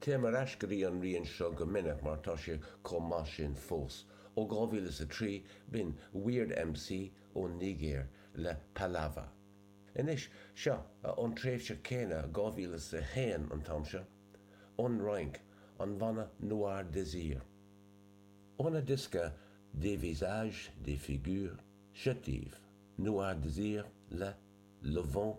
Téim ar ais go dtí an rian seo go minic mar tá sé chomh maith sin fós. Ó 2003, b'in Weird MC ón Nigéir le Palava. Anois, seo, ón tréimhse céanna, 2001 an t-am seo, ón Fhrainc, an banna Noir Désir. Óna diosca Des visages, des figures, seo daoibh, Noir Désir le Le Vent.